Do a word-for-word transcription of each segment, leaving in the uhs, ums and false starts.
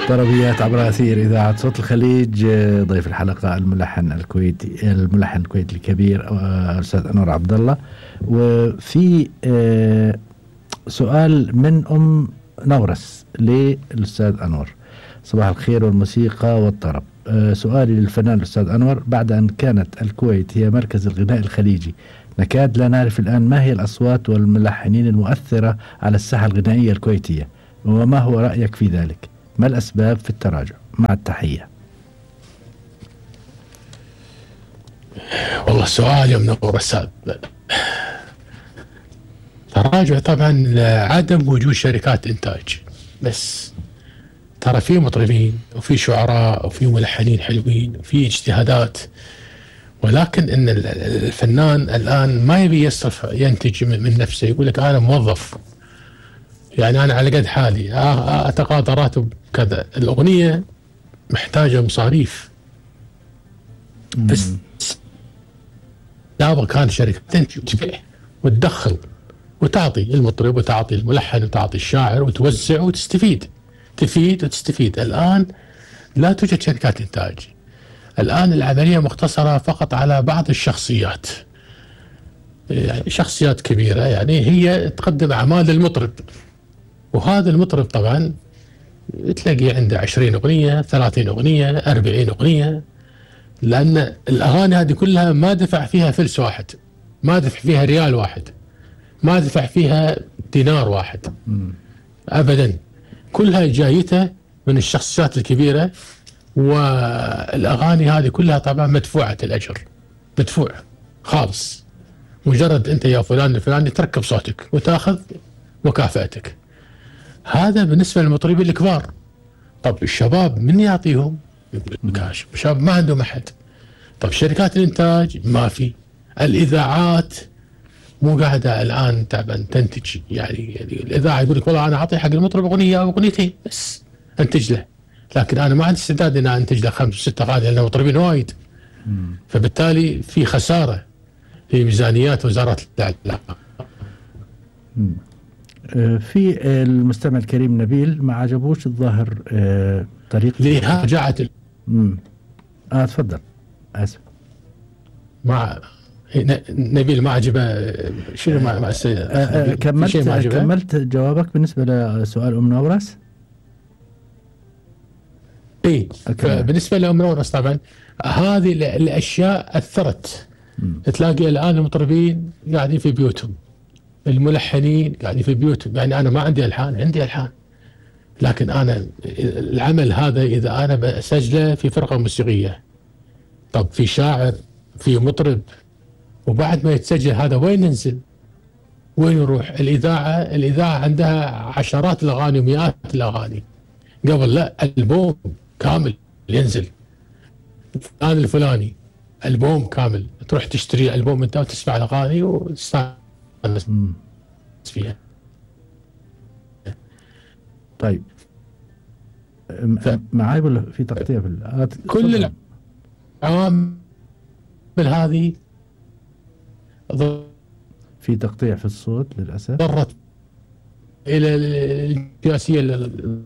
طربيات عبر أثير إذاعة صوت الخليج. ضيف الحلقة الملحن الكويتي الملحن الكويتي الكبير الأستاذ أنور عبد الله. وفي سؤال من أم نورس للأستاذ أنور: صباح الخير والموسيقى والطرب. سؤالي للفنان الأستاذ أنور: بعد أن كانت الكويت هي مركز الغناء الخليجي، نكاد لا نعرف الآن ما هي الأصوات والملحنين المؤثرة على الساحة الغنائية الكويتية، وما هو رأيك في ذلك؟ ما الأسباب في التراجع؟ مع التحية. والله سؤال يا منور الساد. تراجع طبعا لعدم وجود شركات إنتاج، بس ترى في مطربين وفي شعراء وفي ملحنين حلوين وفي اجتهادات، ولكن ان الفنان الآن ما يبي يصرف ينتج من نفسه، يقول لك أنا موظف، يعني أنا على قد حالي أتقاضى راتب كذا. الأغنية محتاجة مصاريف، بس دابا كان شركة تنتج وتبيع وتدخل وتعطي المطرب وتعطي الملحن وتعطي الشاعر وتوزع وتستفيد، تفيد وتستفيد. الآن لا توجد شركات إنتاج، الآن العملية مقتصرة فقط على بعض الشخصيات، يعني شخصيات كبيرة يعني هي تقدم أعمال للمطرب، وهذا المطرب طبعا تلاقي عنده عشرين أغنية، ثلاثين أغنية، أربعين أغنية، لأن الأغاني هذه كلها ما دفع فيها فلس واحد، ما دفع فيها ريال واحد، ما دفع فيها دينار واحد أبدا، كلها جايته من الشخصيات الكبيرة. والأغاني هذه كلها طبعا مدفوعة الأجر، مدفوع خالص، مجرد أنت يا فلان الفلاني تركب صوتك وتأخذ مكافأتك. هذا بالنسبة للمطربين الكبار. طب الشباب من يعطيهم؟ الشباب ما عندهم أحد. طب شركات الإنتاج ما في، الإذاعات مو قاعدة الآن تعبان تنتج، يعني, يعني الإذاعة يقول لك والله أنا أعطي حق المطرب أغنية أو أغنيتين بس أنتج له، لكن أنا ما عندي استعداد إن أنتج له خمس ست أغاني لأن المطربين وايد، فبالتالي في خسارة في ميزانيات وزارة الإعلام. في المستمع الكريم نبيل ما عجبوش الظاهر طريقة ليه رجعت ال... اه تفضل اسف. مع نبيل ما عجبه شنو مع مع السيد آه كملت كملت جوابك بالنسبة لسؤال أم نورس؟ اي بالنسبة لأم نورس طبعا هذه الأشياء أثرت. مم. تلاقي الآن المطربين قاعدين في بيوتهم، الملحنين قاعدين في بيوتهم، يعني أنا ما عندي ألحان، عندي ألحان، لكن أنا العمل هذا إذا أنا بسجله في فرقة موسيقية، طب في شاعر في مطرب، وبعد ما يتسجل هذا وين ينزل؟ وين يروح؟ الإذاعة الإذاعة عندها عشرات الأغاني ومئات الأغاني، قبل لا ألبوم كامل ينزل فلان الفلاني ألبوم كامل، تروح تشتري ألبوم أنت وتسمع الأغاني وتستانس فيها. طيب ف... معاي ولا في تقطيع في ال... كل العوامل هذه في تقطيع في الصوت للأسف، ضرت إلى السياسية لل...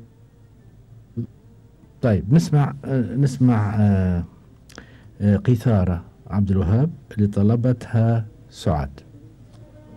طيب نسمع نسمع قيثارة عبد الوهاب اللي طلبتها سعاد.